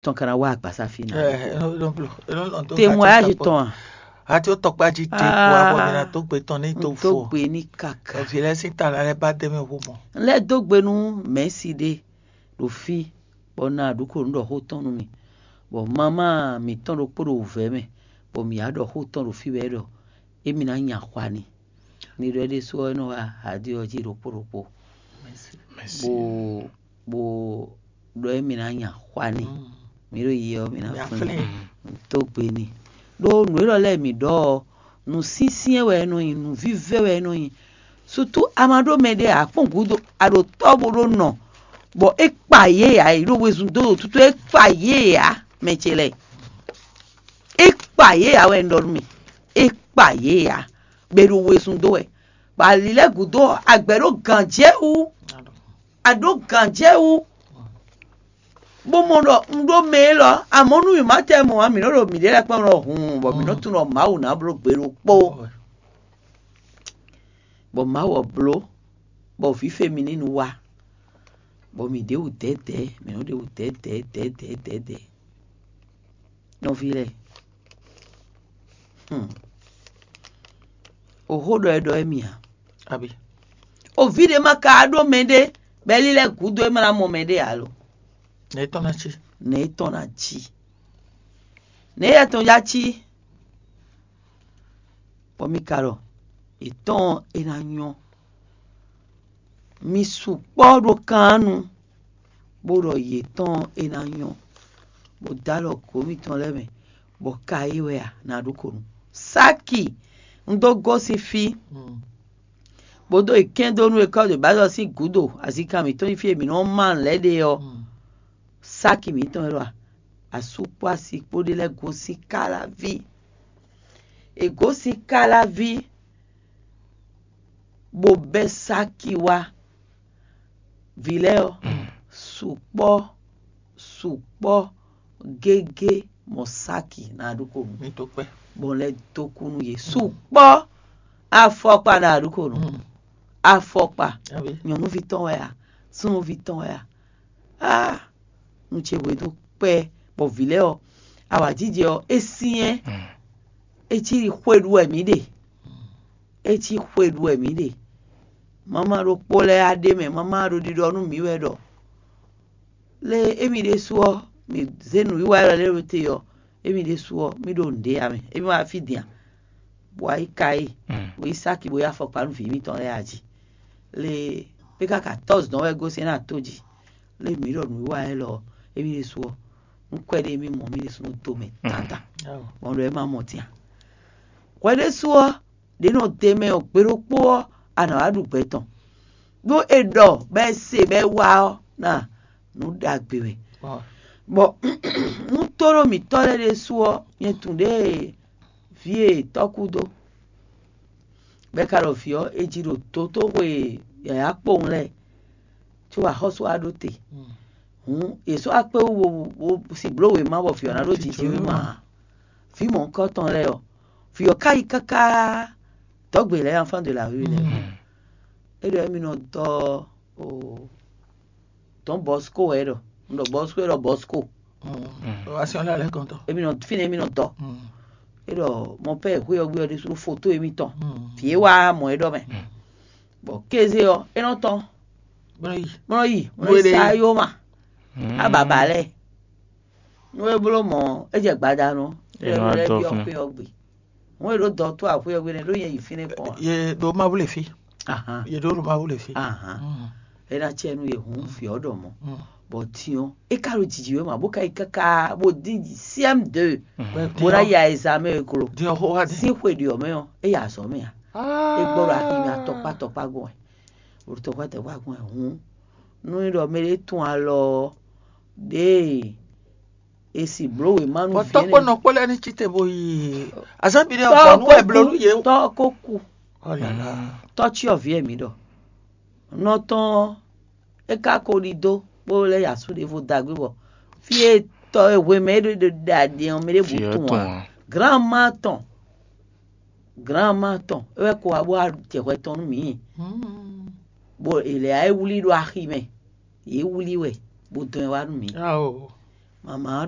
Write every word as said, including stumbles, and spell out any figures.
tɔn ka ná wá agbasa fí ná. Témoignage tɔn a? Ati ó tɔkpá jí te kó abɔ mi ná dó gbe tɔn ní tó fo. Dó gbe ní kaka. Vǐ lɛ́ɛ sín ta lɛ́ɛ bá dé mɛ hú mɔ. Lɛ́ dó gbe nú mɛ̌si ɖé ɖo fí, bɔ un ná ɖu kó nǔ ɖɔ xó tɔn nú mi, bɔ mamá mǐtɔn ɖokpó ɖo wǔvɛ́ mɛ, bɔ mǐ wá ɖɔ xó tɔn ɖo fí wɛ ɖɔ émí ná nya xwa n'i. Ní ɖɔ é ɖésú ɔ́, é nɔ wá aɖi ɔ́ jí ɖokpó ɖokpó, bó bó ɖɔ émí ná nya xwa n'i. Mǐ ɖo yi ɔ́, mǐ ná flín dó gbe n'i. Ɖó nǔ élɔ́ lɛ́ɛ mǐ ɖɔ ɔ́, nǔ syɛ́nsyɛ́n wɛ é nɔ nyí, nǔ vívɛ́ wɛ é nɔ nyí. Sutu a ma ɖó mɛɖé ǎ, kpɔ́n gǔdo a ɖo tɔ́ bó ɖó nɔ, bɔ é kpa yě ǎ, yě ɖo wezun dó ɖo tútú, é kpa yě ǎ, mɛ ce lɛ́ɛ. É kpa yě ǎ wɛ un ɖɔ nú mì. É kpa yě ǎ, bɔ è ɖo wezun dó wɛ. Bɔ ali lɛ́ɛ gǔdo ɔ́, a gbɛ̌ ɖó gǎnjɛwú. A ɖǒ gǎnjɛwú, bó mɔ ɖɔ un ɖó mɛ élɔ́, amɔ̌ nú mǐ ma tɛ mɔ̌ ǎ, mǐ nɔ́ ɖo mǐɖée lɛ́ɛ kpɔ́n ɖɔhun, bɔ mǐ nɔ́ tunwun ɖɔ Mawu ná bló gbe ɖokpó. Bɔ Mawu ɔ́ bló, bɔ vǐ Femininu wá, bɔ mǐ ɖe wǔ dɛ̌dɛ̌, mǐ nɔ́ ɖe wǔ dɛ̌dɛ̌ dɛ̌dɛ̌ dɛ̌dɛ̌. Nɔví lɛ́ɛ, hmm. O xó ɖɔ é ɖɔ émí ǎ. Abi. O vǐ ɖé ma ka ɖó mɛɖé, bɔ é lílɛ́ gǔdo é ma ná mɔ mɛɖé ǎ lo. Nɛ̌ tɔn ná cí? Nɛ̌ tɔn ná cí? Nɛ̌ yɛ tɔn já cí? Bɔ mi ka ɖɔ, yětɔn é ná nyɔ́. Mi sukpɔ́ ɖo kannu, bó ɖɔ yětɔn é ná nyɔ́, bó dó alɔ gǒ mitɔn lɛ́ɛ mɛ, bɔ ka é wɛ a nǎ ɖó konu. Sáki, un dó gosín fí, bó dó yi kɛ́n dó nú ekɔ́ ɖě ba ɖɔ sín gǔdo azinkan mǐtɔn nyí fí e mǐ nɔ́ má nǔ lɛ́ɛ ɖe ɔ́. Sáki mǐtɔn wɛ ɖo a, asú kpó asi kpó ɖé lɛ́ɛ gosín káláví. È gosín káláví, bó bɛ́ sáki wá. Vǐ lɛ́ɛ ɔ́, sukpɔ́ sukpɔ́ gégé mɔ sáki ná ɖó konu. Mi tó kpɛ́. Bɔ lɛ́ dó kú nú yě. Sukpɔ́ afɔkpa ná ɖó konu. Afɔkpa. Nyɔ̌nuví tɔn wɛ a? Súnnuví tɔn wɛ a? Á, nú ce hwe dó kpɛ́, bɔ vǐ lɛ́ɛ ɔ́, awǎjijɛ ɔ́, é syɛ́n. É cí xwe ɖu wɛ mǐ ɖe. É cí xwe ɖu wɛ mǐ ɖe. Mama ɖokpó lɛ́ɛ á ɖe mɛ, mama ɖo ɖiɖɔ nú mǐ wɛ ɖɔ lé émí ɖésú ɔ́, mǐ zé nǔwiwa élɔ́ lɛ́ɛ ɖó te ɔ́, émí ɖésú ɔ́, mí ɖo nǔɖé ǎ mɛ. Émí wá fí din a? Bɔ ayí ka e, bɔ yí sáki bó yá afɔkpa nú vǐ mǐtɔn lɛ́ɛ a jí. Lé é ká ka tɔ́ zɔn wɛ gosɛn ná tó jí. Lé mǐ ɖɔ nǔwiwa élɔ́ ɔ́, émí ɖésú ɔ́, nú kwɛ́ ɖé émí mɔ mí ɖésú nɔ dó mɛ tata. Bɔ ɖɔ é má mɔ tɛn a? Hwɛ ɖésú ɔ́, ɖě nɔ te mɛ ɔ́ gbe ɖokpó ɔ́, a nǎ wá ɖu gbɛ tɔn. Ɖó è ɖɔ bɔ é se bɔ é wá ɔ́, ná nǔ ɖagbe wɛ. Bɔ nú tóɖó mǐtɔn lɛ́ɛ ɖésú ɔ́, nyɛ tunwun ɖěe vǐ e tɔ́ kú dó, bɔ é ka ɖɔ vǐ ɔ́, è ji ɖo dotóxwe yǎyá kpowun lɛ́ɛ, có axɔ́sú wá ɖó te. Hǔn è sɔ́ wá kpé wú bó si bló wěma bɔ vǐ ɔ́ ná ɖó jiji wěma ǎ. Vǐ mɔ̌hunkɔtɔn lɛ́ɛ ɔ́, vǐ ɔ́ ka yi káká dɔ̌gbe lɛ́ɛ, enfant de la rue lɛ́ɛ. É ɖɔ émí nɔ dɔ́ o Don Bosco wɛ é ɖɔ. Un ɖɔ Bosco, é ɖɔ Bosco. Asiɔn lɛ alɛ kɔntɔ. Émí nɔ fínɛ́ émí nɔ dɔ́. É ɖɔ mɔ pɛ xwé ɔ́ gbé ɔ́ ɖésú foto émítɔn. Vǐ é wá mɔ é ɖɔ mɛ. Bɔ kéze ɔ́, é nɔ tɔn. Bɔn yi. Bɔn yi, bɔn yi sa yó ma. Ababa lɛ. Nú é bló mɔ̌, é jɛ gbadanu. É nɔ wá dɔ́ fún. Xwé ɔ́ gbe. Hɔn e ɖo dɔ to axwe ɔ́ gbe nɛ ɖó nyɛ yi fínɛ́ kpɔn a? Ye ɖo Mawu le fi. Ahan. Ye ɖo ɖo Mawu le fi. Ahan. É ná cɛ nú ye hun fi ɔ́ ɖɔ mɔ̌. Bɔ din ɔ́, é ka ɖo jiji wɛ ma, bó ka yi káká bó dín siɛm de. Bó ná ya examen e klo. Din ɔ́ xó wá dín. Sín xwe ɖi ɔ́ mɛ ɔ́, é ya azɔ̌ mɛ a? É gbɔ ɖo axi mɛ atɔkpá tɔkpá gbɔn ɛ. Ɖo tɔkpá tɔkpá gbɔn ɛ hun. Nú é ɖɔ mɛ ɖé tún alɔ ɔ́, ɖěe e si bló wěma nú Bɔ vǐ tɔ́ kpó nɔ kpó lɛ́ɛ ní cí te bó yi azán bi ɖé Tɔ́ ɔ́ nú wɛ bló nú yě. Tɔ́ ko ku. Tɔ́ cyɔ vǐ ɛ mǐ ɖɔ. Nɔ tɔn ɔ́, é ka ko ɖidó bó lɛ́ yi asú ɖěvo dagbe bɔ fí e tɔ e hwe mɛ é ɖo ɖe ɖe aɖe ɔ́, mɛ ɖěbǔ Fí ɔ́ tunwun ǎ. Tunwun ǎ. Granma tɔn, granma tɔn, é wɛ ko wá bó wá jɛ hwɛ tɔn nú mǐ. Bó è lɛ ǎ é wlí ɖo axi mɛ, yě wlí wɛ bó dɔn ɛ wá nú mǐ. Ao. Mama ɔ́ ɖɔ